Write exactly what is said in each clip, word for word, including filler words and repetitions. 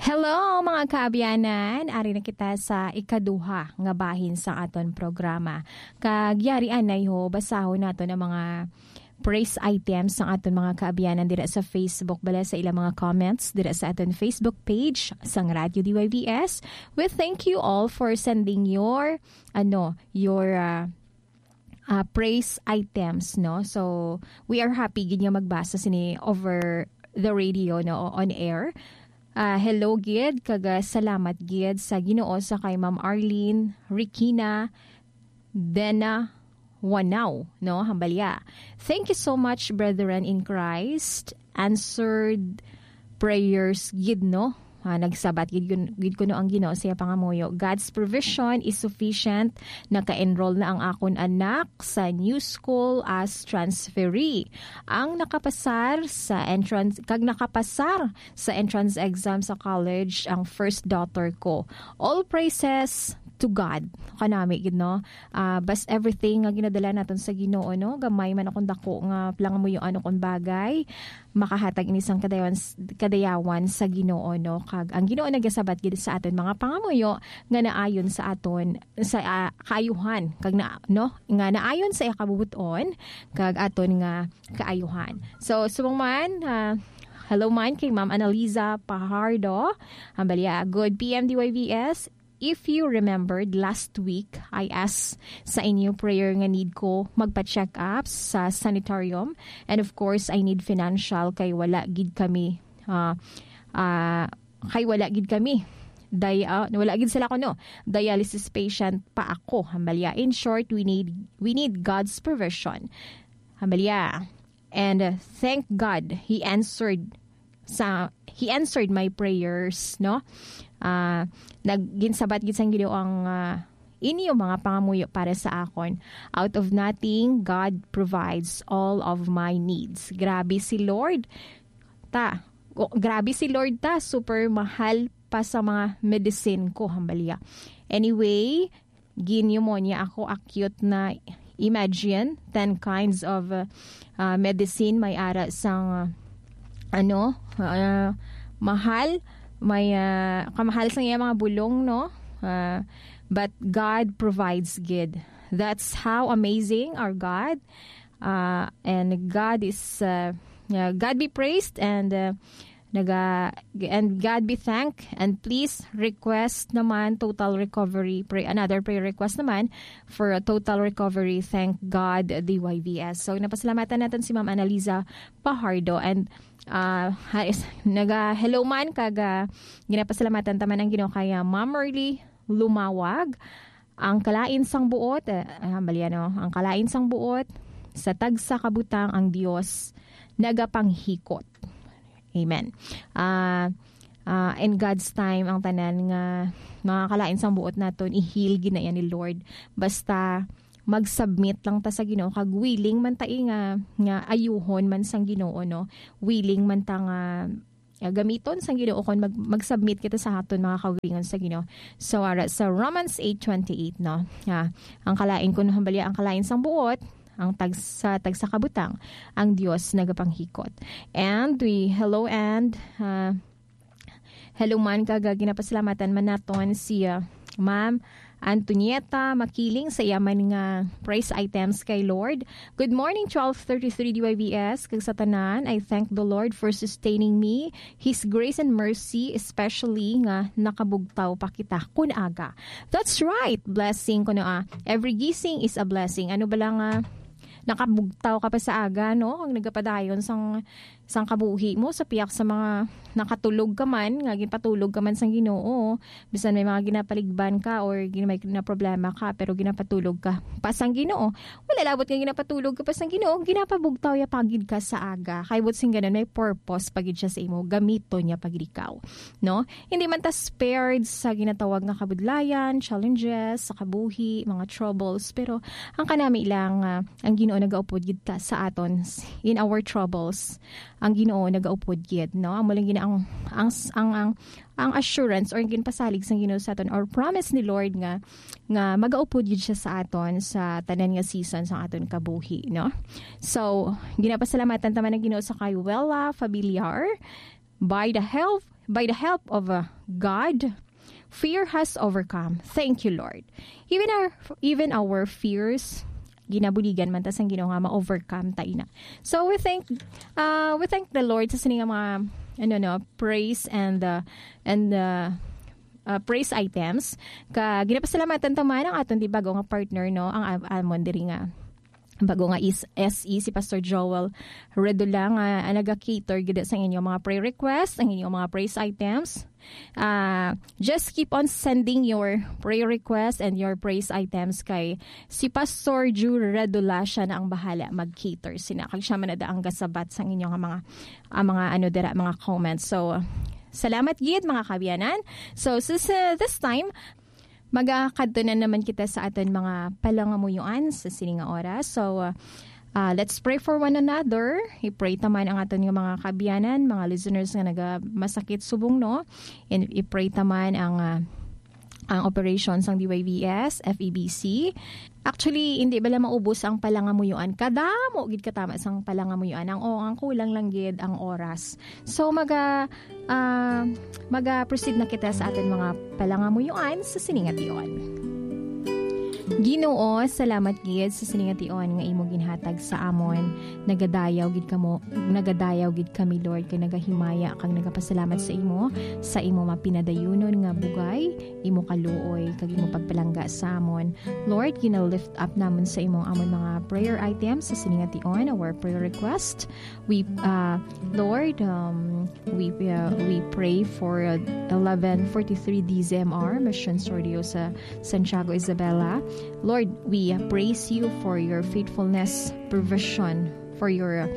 Hello, mga kaabyanan! Ari na kita sa ikaduha nga bahin sa aton programa. Kag yari anay ho, basahon naton ang mga praise items sang aton mga kaabyanan dira sa Facebook, bala sa ilang mga comments dira sa aton Facebook page sang Radyo D Y V S. We thank you all for sending your, ano, your, ah, ah, praise items, no? So, we are happy gid nga magbasa sini over the radio, no, on air. Ah, hello gid, kag, ah, salamat gid sa Ginoo sa kay Ma'am Arlene Rikina Dena Wanao, no, Hambalya. Thank you so much, brethren in Christ. Answered prayers gid, no? Ah, nagsabat gid, yun- gid kuno ang Ginoo sa iya pangamuyo. God's provision is sufficient. Naka-enroll na ang akon anak sa new school as transferee. Ang nakapasar sa entrance, kag nakapasar sa entrance exam sa college ang first daughter ko. All praises to God. Kanami gid, no? Ah, bas everything nga ginadala naton sa Ginoo, no? Gamay man akong dako nga pangamuyoan o kon bagay, makahatag ini sang kadayawan, kadayawan sa Ginoo, no? Kag ang Ginoo nagasabat gid sa aton mga pangamuyo nga naayon sa aton, sa, ah, kaayuhan, kag na, no? Nga naayon sa iya kabubuton, kag aton nga kaayuhan. So, subong man, ah, hello man kay Ma'am Analiza Pajardo. Hambalya, good P M D Y V S. If you remembered, last week, I asked sa inyo prayer nga need ko magpa-check up sa sanitarium. And of course, I need financial kay wala gid kami, ah, ah, kay wala gid kami. Day, ah, wala gid sila kuno. Dialysis patient pa ako, Hambalya. In short, we need, we need God's provision. Hambalya. And, uh, thank God, He answered sa, He answered my prayers, no? Ah, nag-, ginsabat gid sang Ginoo ang, ah, inyo mga pangamuyo para sa akon. Out of nothing, God provides all of my needs. Grabe si Lord. Ta, o, grabe si Lord ta, super mahal pa sa mga medicine ko, Hambalya. Anyway, gin-pneumonia ako, acute na. Imagine, ten kinds of, uh, uh, medicine, may ara sang, uh, ano, uh, mahal, may, uh, kamahal sang iya mga bulong, no? Uh, but God provides gid. That's how amazing our God. Uh, and God is, uh, uh, God be praised, and, uh, naga-, and God be thanked. And please request naman total recovery. Pray, another prayer request naman for a total recovery. Thank God, D Y V S. So, napasalamatan natin si Ma'am Analiza Pajardo. And, uh, ha-, is-, naga-, hello man, kag, uh, ginapasalamatan taman ang Ginoo kay, uh, Ma'am Merly Lumawag. Ang kalain sang buot, eh, ah, bali, ano, ang kalain sang buot, sa tagsa ka butang ang Dios nagapanghikot. Amen. Ah, ah, in God's time, ang tanan nga mga kalain sang buot naton, i-heal gid na yan ni Lord. Basta mag-submit lang ta sa Ginoo, kag willing man ta, eh, nga, nga ayuhon man sang Ginoo, no? Willing man ta nga, ah, gamiton sang Ginoo kon mag-, mag-submit kita sa aton mga kaugalingon sa Ginoo. So, ara sa Romans eight twenty-eight, no? Ah, ang kalain, kun hambalia, ang kalain sang buot, ang tag-, sa tagsa ka butang, ang Dios nagapanghikot. And we, hello, and, ah, hello man, kag ginapasalamatan man naton si, ah, Ma'am Antonieta Makiling sa iya man nga praise items kay Lord. "Good morning, twelve thirty-three D Y V S, kag sa tanan, I thank the Lord for sustaining me, His grace and mercy, especially nga nakabugtaw pa kita kun aga." That's right! Blessing ko na, ah. Every gising is a blessing. Ano ba lang, ah, nakabugtaw ka pa sa aga, no? Ang nagapadayon sang sang kabuhi mo, sa piyak sa mga nakatulog ka man, nga ginpatulog ka man sang Ginoo. Bisan may mga ginapaligban ka or gin-, may na problema ka, pero ginapatulog ka pa sang Ginoo. Wala labot nga ginapatulog ka pa sang Ginoo, ginapabugtaw ya pa gid ka sa aga. Kay buot sing ganun, may purpose pa gid siya sa imo, gamiton niya pa gid ikaw. No? Hindi man ta spared sa ginatawag nga kabudlayan, challenges, sa kabuhi, mga troubles, pero ang kanami lang, ah, ang Ginoo nagaupod gid ta sa aton s-, in our troubles. Ang Ginoo nagaupod gid, no? Amo lang gid ang, ang, ang, ang, ang assurance or ginpasalig sang Ginoo sa aton, or promise ni Lord nga, nga magaupod gid siya sa aton sa tanan nga season sang aton kabuhi, no? So, ginapasalamatan ta man ang Ginoo sa kay Wella Familiar, by the help By the help of, uh, God, fear has overcome. Thank you, Lord. Even our, even our fears, ginabuligan man ta sang Ginoo nga ma-overcome ta ina. So we thank, uh, we thank the Lord sa sini nga mga, ano, no, praise and, uh, and, uh, uh, praise items. Ka ginapasalamatan ta man ang aton di bago nga partner, no, ang am-, amon diri nga bago nga is S E, si Pastor Joel Redola, nga, ah, naga-cater gid sa inyong mga prayer request, ang inyong mga praise items. Ah, just keep on sending your prayer request and your praise items kay si Pastor Ju Redola, siya na ang bahala mag-cater sina. Kag siya man na ang gasabat sang inyong mga, ah, mga ano dira, mga comments. So, salamat gid, mga kaabyanan. So, so, so, this time, magakadto na naman kita sa aton mga palangamuyoan sa sini nga oras. So, uh, uh, let's pray for one another. I-pray ta man ang aton nga mga kaabyanan, mga listeners nga naga masakit subong, no? And i-pray ta man ang, uh, ang operation sang D Y V S, F E B C. Actually, hindi bala maubos ang palangamuyoan. Kadamo gid katama sang palangamuyoan. Ang, o, ang kulang lang gid ang oras. So, maga, ah, maga-proceed na kita sa aton mga palangamuyoan sa sini nga tion. Ginoo, salamat gid sa sini nga tion nga imo ginhatag sa amon. Nagadayaw gid kamo, nagadayaw gid kami, Lord, kay nagahimaya kag nagapasalamat sa imo, sa imo mapinadayunon nga bugay, imo kaluoy, kag imo pagpalangga sa amon. Lord, gina-lift up namon sa imo ang amon mga prayer items sa sini nga tion, our prayer request. We, uh, Lord, um, we, uh, we pray for, uh, eleven forty-three D Z M R, Mission Sordio sa Santiago, Isabela. Lord, we, uh, praise you for your faithfulness, provision, for your, uh,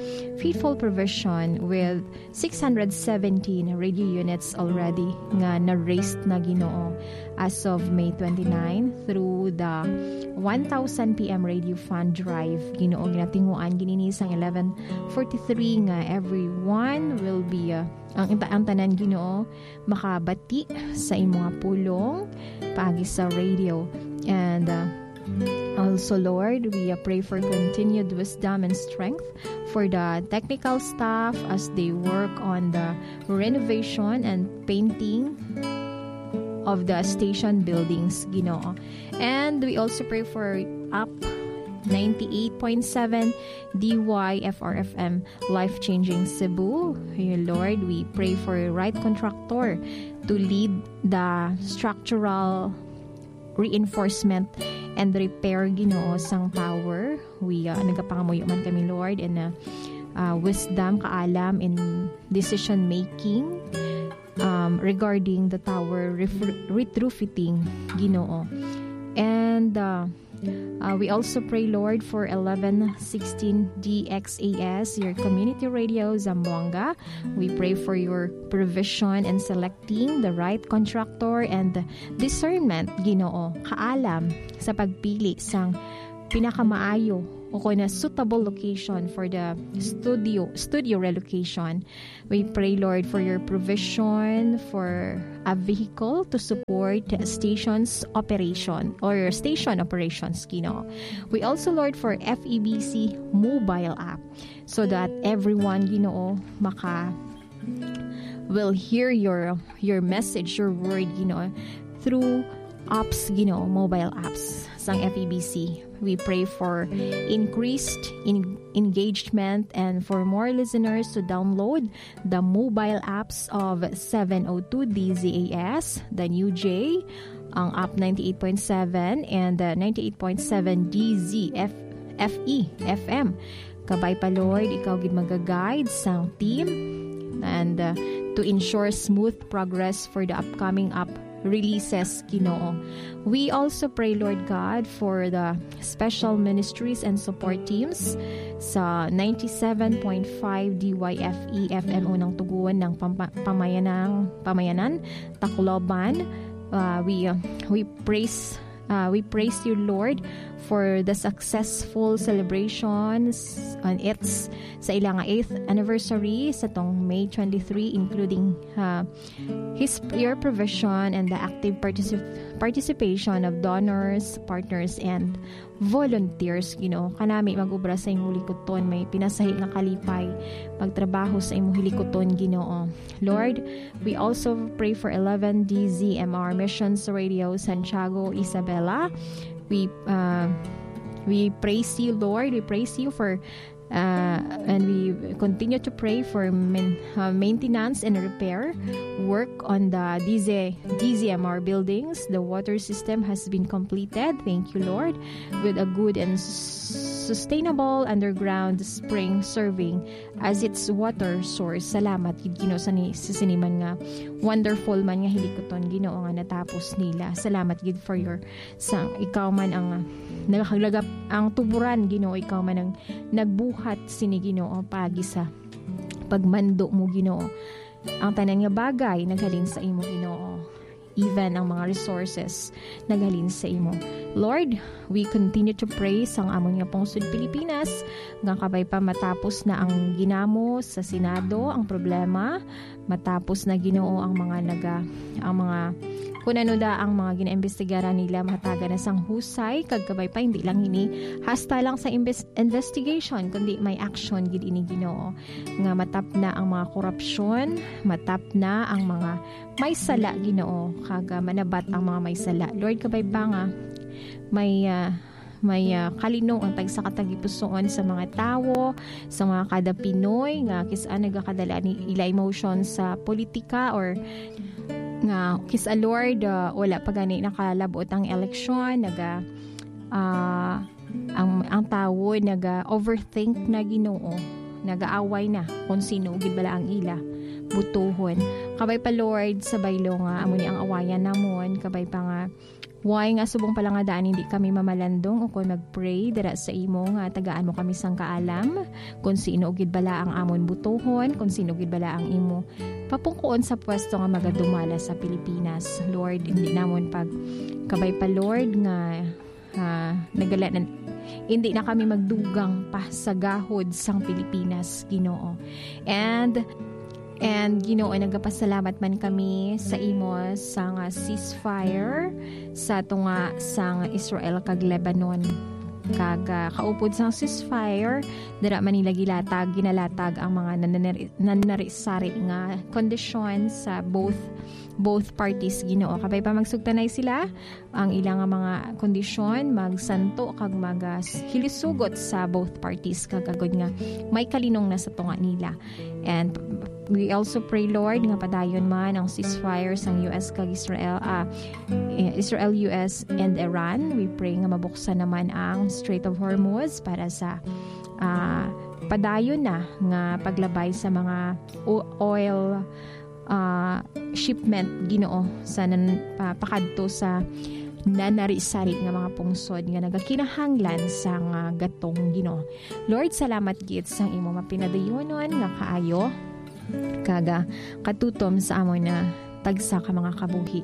faithful provision with six hundred seventeen radio units already nga na-raised na, Ginoo, as of May twenty-nine through the one thousand P M Radio Fund Drive, Ginoo, ginatinguan ginini sang eleven forty-three nga everyone will be, uh, ang, ang tanan, Ginoo, makabati sa imo nga pulong paagi sa radio. And, uh, also, Lord, we, uh, pray for continued wisdom and strength for the technical staff as they work on the renovation and painting of the station buildings, Ginoo. And we also pray for Up ninety-eight point seven D Y F R F M, Life Changing Cebu. Lord, we pray for right contractor to lead the structural reinforcement and repair, Ginoo, sang tower. We, uh, nagapangamuyo man kami, Lord, in, uh, uh, wisdom, kaalam in decision making, um, regarding the tower ref-, retrofitting, Ginoo. And, uh, uh, we also pray, Lord, for eleven sixteen D X A S, your community radio, Zamboanga. We pray for your provision and selecting the right contractor and discernment, Ginoo, kaalam sa pagpili sang pinakamaayo o kon na suitable location for the studio, studio relocation. We pray, Lord, for your provision for a vehicle to support stations operation or station operations, Ginoo. We also, Lord, for F E B C mobile app so that everyone, Ginoo, maka will hear your, your message, your word, Ginoo, through apps, Ginoo, mobile apps sang F E B C. We pray for increased in-, engagement and for more listeners to download the mobile apps of seven oh two D Z A S, the New J, ang App ninety-eight point seven, and, uh, ninety-eight point seven D Z F, F E F M. Kabay pa, Lord, ikaw gid maga-guide sang team and, uh, to ensure smooth progress for the upcoming app releases, Ginoo. We also pray, Lord God, for the special ministries and support teams sa ninety-seven point five D Y F E F M unang tugon ng pampa-, pamayanang, pamayanan, Tacloban. Uh, we, uh, we praise, uh, we praise you, Lord, for the successful celebrations on its sa ila nga eighth anniversary sa tong May twenty-three, including, uh, his your provision and the active particip- participation of donors, partners, and volunteers, Ginoo. Kanami mag-obra sa imong likuton, may pinasahi nga kalipay, magtrabaho sa imong hilikuton, Ginoo. Lord, we also pray for eleven D Z M R Missions Radio Santiago, Isabela. We, uh, we praise you, Lord. We praise you for, uh, and we continue to pray for main-, uh, maintenance and repair work on the D Z, D Z M R buildings. The water system has been completed. Thank you, Lord. With a good and s- sustainable underground spring serving as its water source. Salamat gid, Ginoo, sa ni-, sa sini man nga wonderful man nga hilikuton, Ginoo, nga natapos nila. Salamat gid for your sang ikaw man ang, ah, nagakaglaga ang tuburan, Ginoo, ikaw man ang nagbuhat sini, Ginoo, pagi sa pagmando mo, Ginoo. Ang tanan nga bagay naghalin sa imo, Ginoo. Even ang mga resources naghalin sa imo. Lord, we continue to pray sang amon nga pungsod Pilipinas, nga kabay pa matapos na ang ginamo sa Senado, ang problema, matapos na, Ginoo, ang mga naga-, ang mga, kung ano da ang mga ginaimbestigaran nila, mahatagan na sang husay, kag kabay pa, hindi lang ini hasta lang sa imbes-, investigation, kundi may action gid ini, Ginoo, nga matapna ang mga korupsyon, matapna ang mga may sala, Ginoo, kag, ah, manabat ang mga may sala. Lord, kabay pa nga may, ah, may, ah, kalinong ang tagsa ka tagipusoon sa mga tawo, sa mga kada Pinoy nga kis-a nagakadala ni ila emotion sa politika, or nga kis-a, Lord, ah, wala pa gani nakalabot ang eleksyon, naga, ah, ang, ang tawo naga-overthink na, Ginoo, nagaaway na kung sino gid bala ang ila butuhon. Kabay pa, Lord, sa baylo nga amo ni ang awayan namon, kabay pa nga way nga subong pala nga daan hindi kami mamalandong ukon mag-pray dira sa imo nga tagaan mo kami sang kaalam kung sino gid bala ang amon butuhon, kung sino gid bala ang imo papungkuon sa pwesto nga magadumala sa Pilipinas. Lord, hindi namon pag kabay pa, Lord, nga, ah, nagala na, hindi na kami magdugang pa sa gahod sang Pilipinas, Ginoo. And, and, Ginoo, nagapasalamat man kami sa imo sa nga ceasefire sa tunga sang Israel kag Lebanon. Kag, ah, kaupod sang ceasefire, dira man nila gilatag, ginalatag ang mga nananari-, nanari-sari nga kondisyon sa both, both parties, Ginoo. Kabay pa magsugtanay sila, ang ila nga mga kondisyon magsanto kag mag, ah, s-, hilisugot sa both parties, kag agod nga may kalinong na sa tunga nila. And we also pray, Lord, nga padayon man ang ceasefire sang U S kag Israel, ah, eh, Israel, U S, and Iran. We pray nga mabuksan naman ang Strait of Hormuz para sa, ah, padayon na nga paglabay sa mga o-, oil, ah, shipment, Ginoo, sa nan-, pa-, pakadto sa nanari-sari nga mga pungsod nga nagakinahanglan sa nga gatong, Ginoo. Lord, salamat gid sang imo mapinadayonon nga kaayo kag, ah, katutom sa amon na tagsa ka mga kabuhi.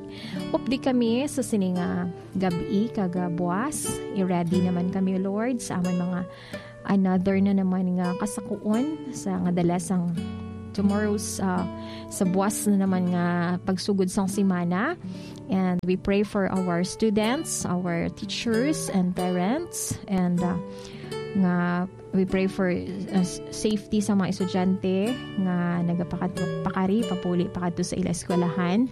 Updi kami sa sini nga gab-i kag, ah, buwas. I-ready naman kami, Lord, sa amon mga another na naman nga kasakuon sa nga dala sang tomorrow's, ah, sa buwas na naman nga pagsugod sang semana. And we pray for our students, our teachers, and parents, and, ah, nga we pray for, uh, s-, safety sa mga estudyante nga nagapakad-, pakari, papuli, pakadto sa ila eskwelahan.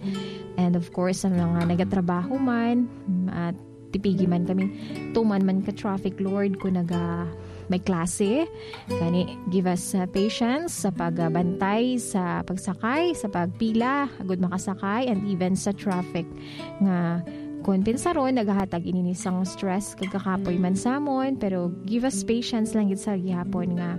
And of course, sa mga nagatrabaho man, at tipigi man kami, tuman man ka traffic, Lord, kung naga-, may klase. Gani, give us, uh, patience sa pagbantay, sa pagsakay, sa pagpila, agud makasakay, and even sa traffic nga kung pinsaron, nagahatag ini ni sang stress kag kakapoy man sa amon, pero give us patience lang gid sa gihapon nga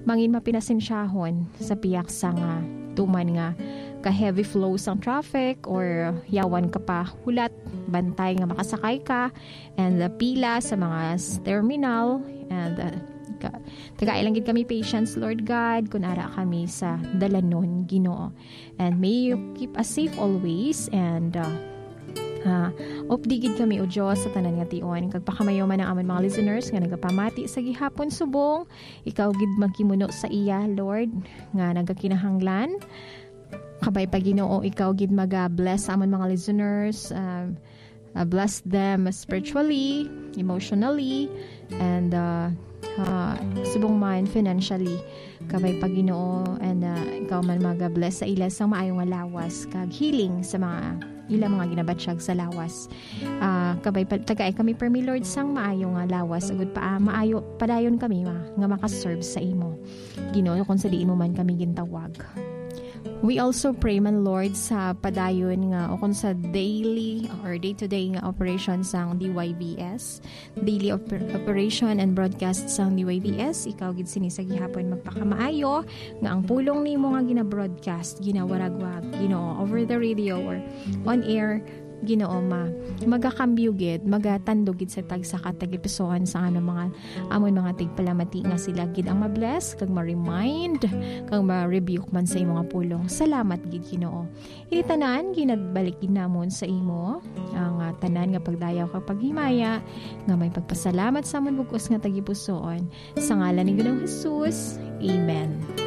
mangin mapinasensyahon sa piyak sa nga tuman nga ka-heavy flow sang traffic or yawan ka pa hulat, bantay nga makasakay ka, and, uh, pila sa mga s-, terminal, and, uh, ka-, tagai lang gid kami patience, Lord God, kun ara kami sa dalanon, Ginoo. And may you keep us safe always, and, uh, Ah, updi gid kami, O Dios, sa tanan nga tion, kag pakamayo man ang amon mga listeners nga nagapamati sa gihapon subong. Ikaw gid maghimuno sa iya, Lord, nga nagakinahanglan. Kabay pa, Ginoo, ikaw gid maga-bless sa amon mga listeners. Ah, ah, bless them spiritually, emotionally, and, ah, ah, subong man financially. Kabay pa, Ginoo, and, ah, ikaw man maga-bless sa ila sang maayo nga lawas kag healing sa mga ila mga ginabatyag sa lawas. Ah, kabay pa, tagai kami permi, Lord, sang maayo nga lawas, agud pa, ah, maayo padayon kami ma-, nga makaserve sa imo, Ginoo, kung sa diin mo man kami gintawag. We also pray man, Lord, sa padayon nga o kung sa daily or day-to-day nga operation sang D Y V S, daily oper-, operation and broadcast sang D Y V S. Ikaw gid sini sa gihapon magpakamaayo nga ang pulong nimo nga gina-broadcast, ginawaragwag, Ginoo, over the radio or on air, Ginoo, ma-, magakambyo gid, magatandog gid sa tagsa ka tagipusoon sa ano mga amon mga tigpalamati nga sila gid ang ma-bless kag ma-remind kag ma-rebuke man sa imo nga pulong. Salamat gid, Ginoo. Ini tanan ginabalik gid namon sa imo ang, ah, tanan nga pagdayaw kag paghimaya nga may pagpasalamat sa amon bug-os nga tagipusoon. Sa ngalan ni Ginoong Jesus, amen.